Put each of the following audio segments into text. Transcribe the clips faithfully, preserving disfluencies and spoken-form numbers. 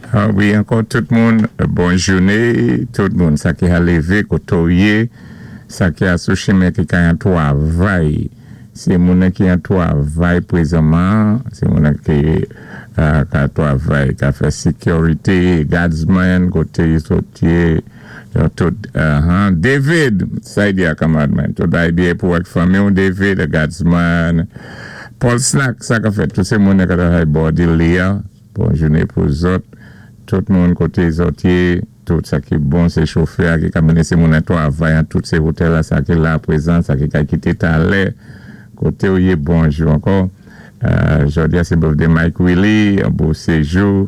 Ah wi, ankò tout moun, bon jouné, tout moun, sa ki a lévé, koté yé, sa ki a sou chimen ki ka an twavay, sé moun ki an twavay pwézanman, sé moun ki euh, ka twavay, ka fè security, guardsman, koté zòt yé, yo tout, uh-huh. David, sa di a kanmad man, tout bagay byen pou ak fanmi ou David, guardsman, Paul Snack, sa ka fèt, tout sé moun ka twavay bò li a, bon jouné pou zòt, tout moun koté zòt yé, tout sa ki bon sé chofè ki ka mennen sé moun an twavay an tout sé otèl la, sa ki la pwézan, sa ki ka kité talè, koté ou yé bonjou ankò. Euh, jòdi a sé birthday Mike Willie, an beau séjou.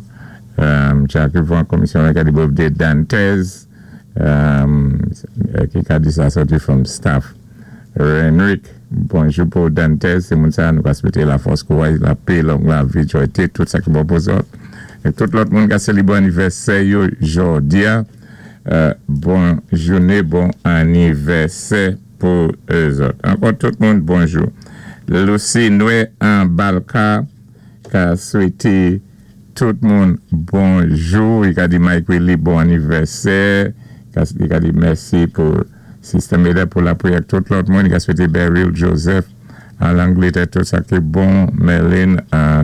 Euh, Jacques Yvon, komisyonnè ki a di birthday Dantes, euh, ki ka di sa sòti from staff. Renrick, bonjou pou Dantes, sé moun sa nou ka swété la fòs kouway, la pè, long lavi, jwayté, tout sa ki bon pou zòt. É tout lòt moun ka sélébwé anivèsè yo jòdi a, euh, bon jouné, bon anivèsè pou zòt. Ankò tout moun, bonjou. Lucy Noé an Balka ka swété tout moun bonjou. I ka di Mike Willie bon anivèsè. I ka di mèsi pou Sister Meda pou la pwiyè tout lòt moun. I ka swété Beryl Joseph an Langlétè tout sa ki bon. Merlin an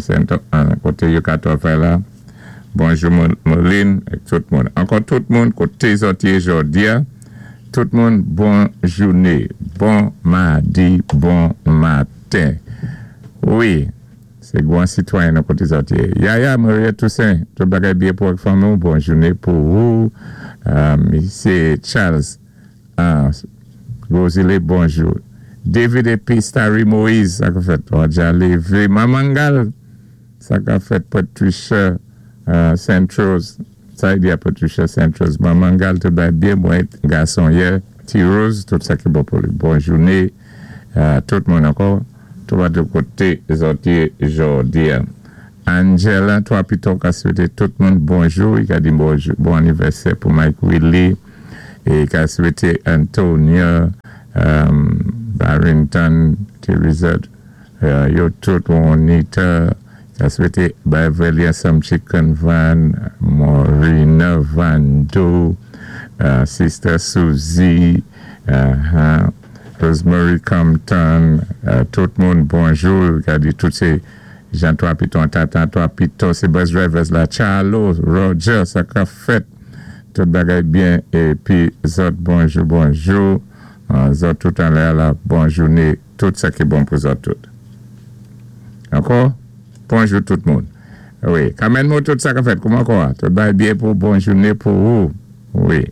an koté yo ka twavay la. Bonjou Merlin é tout moun. Ankò tout moun koté zòt yé jòdi a. Tout moun bon jouné, bon madi, bon maten. Wi, sé gwan sitwayen nan koté zòt yé. Yaya, Maria Toussaint, tout bagay byen pou ak fanmi ou, bon jouné pou ou. Euh, sé Charles uh, Rosile, bonjou. David Epistari Moïse, sa ka fèt, Roger Lévé, Mamangal, sa ka fèt Patricia uh, Centros, sa di a Patricia Centros, Mamangal, tout bagay byen, mwen gason yè, T. Rose, tout sa ki bon pou li. Bon jouné, uh, tout moun ankò, tout va de koté zòt yé jòdi a. Angela, twa pito ka swété tout moun bonjou, i ka di bonjou, bon anivèsè pou Mike Willie, é ka swété Antonia, um, Barrington, Teresa, uh, yo tout Juanita, ka swété Beverly Some Chicken Van, Maureen Vando, uh, Sister Susie, uh, Rosemary Compton, uh, tout moun bonjou, ka di tout sé Jean Trois Pitons, Tata Trois Pitons, sé bus drivers la, Charlo, Roger, sa ka fèt, tout bagay byen, épi zòt bonjou, bonjou, uh, zòt tout anlè la, bon jouné, tout sa ki bon pou zòt tout. Ankò? Bonjou tout moun. Wi, kanmenm tout sa ka fèt, kouman kwa? Tout bagay byen pou bon jouné pou ou. Wi.